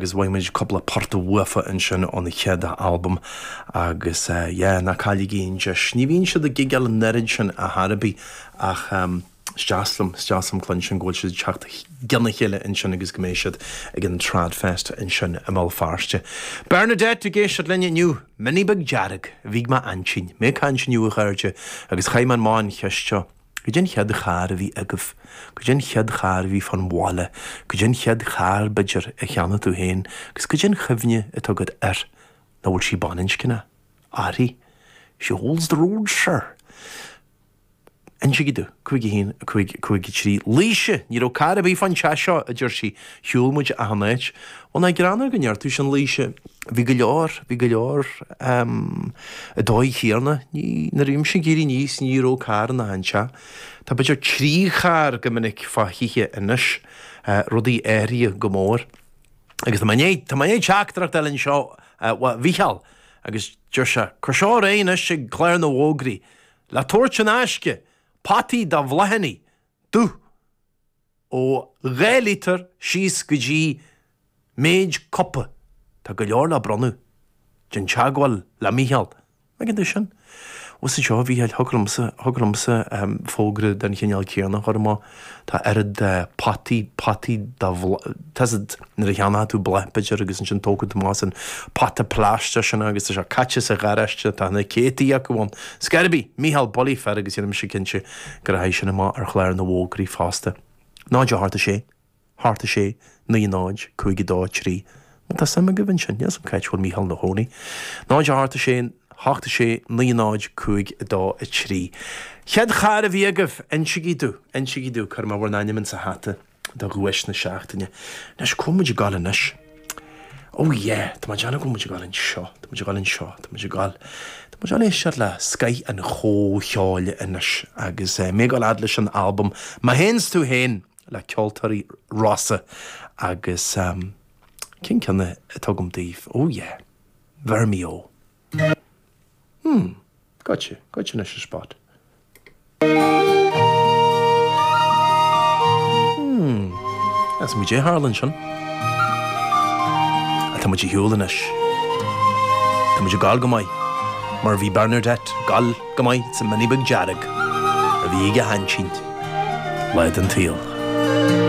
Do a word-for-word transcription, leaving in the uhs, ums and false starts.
Agus bhain muid cúpla port uafa ansin ón chéad albam agus yeah, ná cailligí an deis. Ní bhíonn siad ag gigeáil an oiread sin ar chor ar bith ach um, is deas liom is deas liom cluinstin go bhfuil siad teacht lena chéile ansin agus go mbeidh siad ag an Tradfest ansin i mBéal Feirste. Bernadette ag éisteacht linn inniu, Mini Beag Dearg, bhí ma ansin, mé caint inniu a chairde agus chaith mé an cheist seo. Cad é an chéad charr a bhí agaibh, Cad é an chéad charr a bhí fan bhaile, Cad é an chéad charr b'fhéidir a cheannaigh tú féin, agus cad é an chuimhne atá agat air ná bhfuil sí baininscneach, Airí, She holds the road, sir. Insígí domh cúig a haon cúig cúig trí Laoise, ní raibh carr ar bith fan teach seo a deir sí shiúil muid achan áit. Bhuel ná greanadh go ndeir tú sin Laoise, bhí go leor, bhí go leor um, i dóigh chéanna, ní nuair a bhí mise ag éirí aníos ní raibh carr in achan teach. Tá b'fhéidir trí charr go minic fá thithe anois, uh, rudaí athraithe go mór. Agus tá mé tá mé teachtaireacht eile anseo uh, Mhícheál agus deir sé cuir seo ar aghaidh anois ag clár na bhfógraí, le tabhairt in aisce, potaí do bhláthanna, dubh ó dhá lítear síos go dtí méid cupa Tá go leor le bronnadh Déan teagmháil le Mícheál. Ag an sin. Was seo bhí thugamsa thugamsa fógra den chineál céanna chuma tá oiread potaí potaí tá nuair a cheannaíonn tú bláth b'fhéidir agus ansin tógann tú amach an pota plaisteach sin agus tá sé caite sa gharáiste tá na céadta acu ann. Scairbi Mícheál Bolly fer agus dhéanfaidh mise cinnte go rachaidh sin amach ar chlár na bhfógraí fosta. Náid a hocht a sé, hocht a sé, naoi náid, cúig dó trí. Tá suim agaibh ansin, níl 'fhios a'm cá bhfuil Mícheál ina chónaí. Náid a hocht a sé, hocht a sé, naoi náid, cúig dó a trí. Chéad charr a bhí agaibh insígí domh, insígí domh cuir mé bhur n-ainm sa hata do dhuais na seachtaine. Anois cá bhfuil muid ag gabháil anois. Oh yeah, Tá déanamh go muid gáil anseo, Tá muid ag gabháil anseo, Tá muid ag gabháil. Tá muid ag éisteacht le scoth an chomhcheoil anois agus uh, mé ag gabháil fhad leis an albam Má théanns tú féin le ceoltóirí Rossa agus um, cén ceann atá agam daoibh? Oh yeah, Vermio. Hmm, gotcha, gotcha anois a spot. Hmm, As muid é tharla ansin. Tá muid ar shiúl anois. Tá muid ag gabháil go maith, mar bhí Bernadette ag gabháil go maith sa Mini Beag Dearg a bhí ag a haintín lá den tsaol.